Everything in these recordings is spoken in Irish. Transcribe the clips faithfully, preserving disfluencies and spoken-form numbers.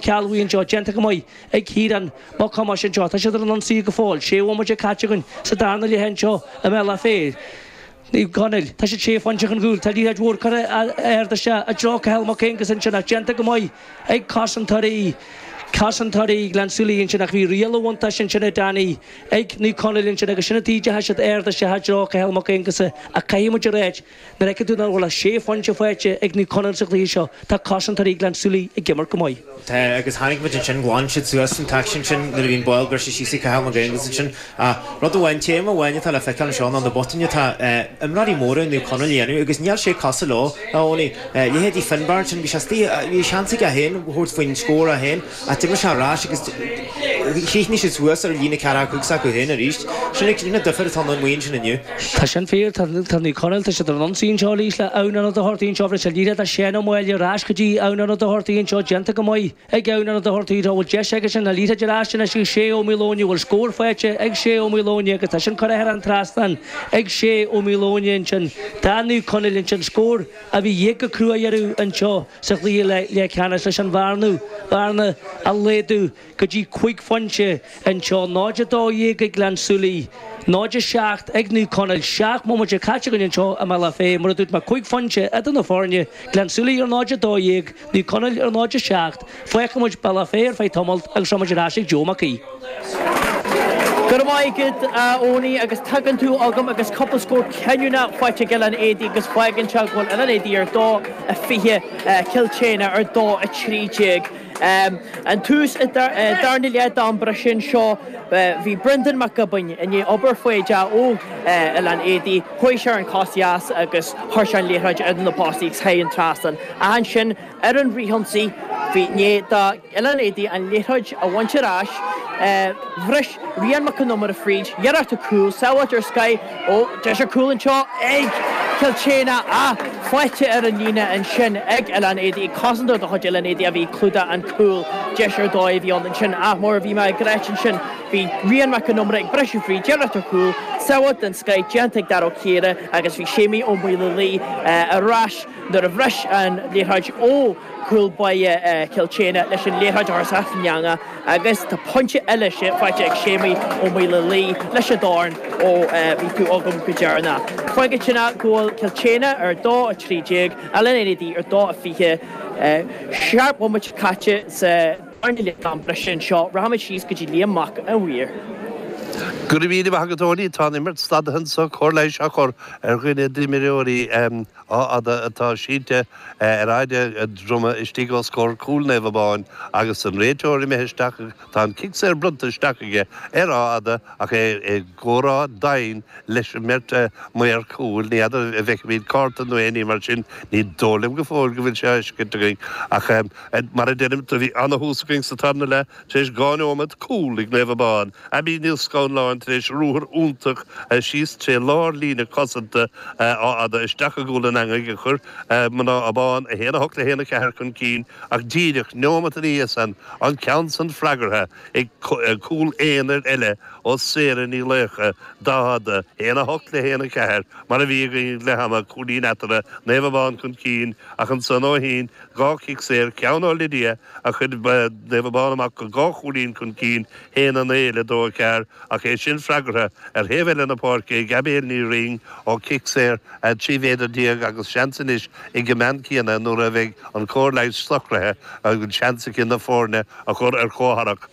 Cealbhaí anseo, déanta go maith ag Ciarán Mac Thomáis anseo. Tá siad ar an ionsaí go fóill. Sé bhomaite caite againn sa darna leath anseo i mBealach Féich. Naomh Conaill, tá siad sé phointe chun cúil. Tá liathróid mhór curtha ard isteach i dtreo Cathal Mac Aonghus ansin ach déanta go maith ag cosantóirí cosantóirí Ghleann tSúilí ansin ach bhí riail an bhuntáiste ansin a Danny ag Naomh Conaill ansin agus sin an taobh deas siad ard isteach i dtreo Cathal Mac Aonghusa ach caithfidh muid a ráit nuair a fheiceann tú nach bhfuil ach sé phointe faighte ag Naomh Conaill sa chluiche seo, tá cosantóirí Ghleann tSúilí ag imirt go maith. Tá, agus chonaic muid ansin, ghlan siad suas an t-aicsean sin nuair a bhí an ball briste síos ag Cathal Mac Aonghusa ansin. Ach rud amháin, téama amháin atá le feiceáil anseo ná na botúin atá imreoirí móra Naomh Conaill a dhéanamh agus níl sé cosúil leo, a Eoiní. Leithéidí Finbar ansin, bhí sé istigh, bhí seans aige féin a thabhairt faoin scór é féin ach d'imir sé ar ais agus chríochnaigh siad suas ar líne ceathracha cúig s'acu féin arís. Sin an difear atá ann amuigh ansin inniu. Tá sin fíor, tá Naomh Conaill, tá siad ar an ionsaí anseo arís le Eoghan Ó Dochartaigh anseo, bhris an liathróid le Seán Ó Máille ar ais go dtí Eoghan Ó Dochartaigh anseo, déanta go maith ag Eoghan Ó Dochartaigh, tá bhfuil deis aige sin an liathróid ar ais anois ag Shay Ó Maoileoin, bhfuil scór faighte ag Shay Ó Maoileoin agus tá sin curtha thar an trasnán ag Shay Ó Maoileoin ansin. Do Naomh Conaill ansin, scór a bhí de dhíth go crua orthu anseo sa chluiche leathcheannais leis an bhearna, bhearna a laghdú go dtí cúig phointe anseo, náid a dó dhéag ag Gleann tSúilí, náid a seacht ag Naomh Conaill, seacht mbomaite caite againn anseo i mBealach Féich, mar a dúirt mé, cúig phointe idir na foirne, Gleann tSúilí ar náid a dó dhéag, Naomh Conaill ar náid a seacht. Fágfaidh muid Bealach Féich ar feadh tamaill agus seo muid ar ais ag Joe Mac Aoidh. Go raibh maith agat, a Eoiní, agus tagann tú agam agus cúpla scór cinniúnach faighte ag Oileán Éadaí agus fágann sé go bhfuil Oileán Éadaí ar dó a fiche, Cill tSéadhna ar dó a trí déag. An tús darna leath d'am breise anseo, bhí Brendan Mac Giobáin i ndiaidh obair foighdeach ó Oileán Éadaí, chuaigh sé ar an cos dheas agus chuir sé an liathróid idir na postaí agus thar an trasnán. Ach ansin ar an fhrithionsaí, bhí i ndiaidh do Oileán Éadaí an liathróid a bhaint ar ais, bhris Rian Mac Con Iomaire fríd, iarracht ar chúl, sábháilte ar scoith ó deis ar cúl anseo ag Cill tSéadhna ach faighte ar an líne ansin ag Oileán Éadaí, cosantóir de chuid Oileán Éadaí a bhí ag clúdach an cúl, deis ar dóigh a bhí ann ansin ach mar a bhí mé ag ráit ansin bhí Rian Mac Con Iomaire ag briseadh fríd, iarracht ar chúl, sábháilt den scoith déanta ag Dara Ó Ciardha agus bhí Séimí Ó Maolaodha ar ais nuair a bhris an liathróid ó chúl báire Chill tSéadhna leis an liathróid a chur isteach san eangach agus tá pointe eile faighte ag Séimí Ó Maolaodha leis an dorn ó bhí tú agam go deireanach. Fágann sin go bhfuil Cill tSéadhna ar dó a trí déag, Oileán Éadaí ar dó a fiche. Seacht mbomaite caite sa darna leath d'am breise anseo. Rachaimid síos go dtí Liam Mac an Mhaoir. Go raibh míle maith agat Tony, tá an imirt stadtha anseo, cóir leighis á chur ar dhuine d'imreoirí Áth Fhada atá sínte ar fhaide a droma istigh os comhair cúl Naomh Abán agus an réiteoir imithe isteach, tá an cic saor bronnta isteach aige ar Áth Fhada ach é i gcomhrá domhain leis an mbeirt maor cúil, ní fheadar an bhfeicfimid cárta nó aon ní mar sin, ní dóigh liom go fóill go bhfuil sé á fheiscint againn ach mar a deirim, do bhí ana-thús againn sa tarna leath tar éis dhá neomat, cúl ag Naomh Abán. Abby Ní Scanláin tar éis ruathar iontach síos tré lár líne cosanta Áth Fhada isteach i gcúl an eangaigh a chuir mná Abán a haon a hocht le haon a ceathair chun cinn ach díreach neomat ina dhiaidh san an ceann san freagartha ag cúl aonair eile ó Sarah Ní Laochdha d'Áth Fhada, a haon a hocht le haon a ceathair mar a bhí againn ag leath ama, cúilín eatarthu, Naomh Abán chun cinn ach ansan ó shin dhá chic saor, ceann ó Lydia a chuir Naomh Abán amach go dhá chúilín chun cinn, haon a naoi le dó a ceathair, ach é sin freagartha ar thaobh eile na páirce ag Abigail Ní Rinn ó chic saor trí mhéadar déag agus seans anois ag an mbean céanna nuair a bheidh an chóir leighis socraithe an seans aici na foirne a chur ar comhtharrac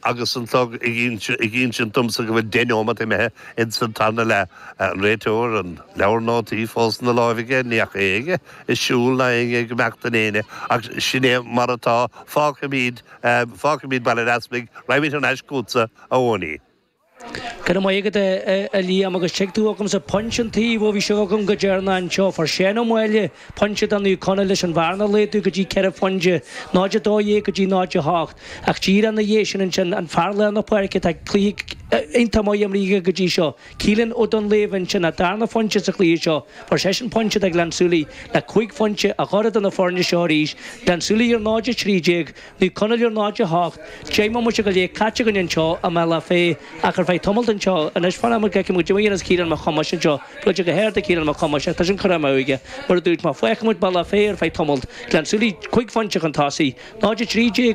agus an clog ag insint domsa go bhfuil deich neomat imithe ins an tarna leath. An réiteoir, an leabhar nótaí fós ina láimh aige, ní fhaca éinne ag siúl ná éinne ag imeacht in éinne ach sin é mar atá. Fágfaimid, fágfaimid Baile an Easpaig, raghaimid thar n-ais chugatsa, a Eoiní. Go raibh maith agat, a Liam, agus tig tú agamsa pointe an taobh ó bhí sibh agam go deireanach anseo. Fuair Seán Ó Máille pointe do Naomh Conaill leis an bhearna a laghdú go dtí ceithre phointe, náid a dó dhéag go dtí náid a hocht. Ach díreach ina dhiaidh sin ansin, an fear lár na páirce atá cluiche Iontach maith imrithe aige go dtí seo. Keelan Ó Duinnshléibhe ansin, an darna phointe sa chluiche seo. Fuair seisean pointe do Ghleann tSúilí le cúig phointe a chur idir na foirne seo arís. Gleann tSúilí ar náid a trí déag, Naomh Conaill ar náid a hocht. Deich mbomaite go leith caite againn anseo i mBealach Féich ach ar feadh tamalt anseo anois fanfaidh muid go bhfeicfidh muid cad a dhéanfas Ciarán Mac Thomáis anseo. Buailte go hard ag Ciarán Mac Thomáis ach tá sin curtha amú aige. Mar a dúirt mé, fágfaidh muid Bealach Féich ar feadh tamalt. Gleann tSúilí cúig phointe chun tosaigh, náid a trí déag.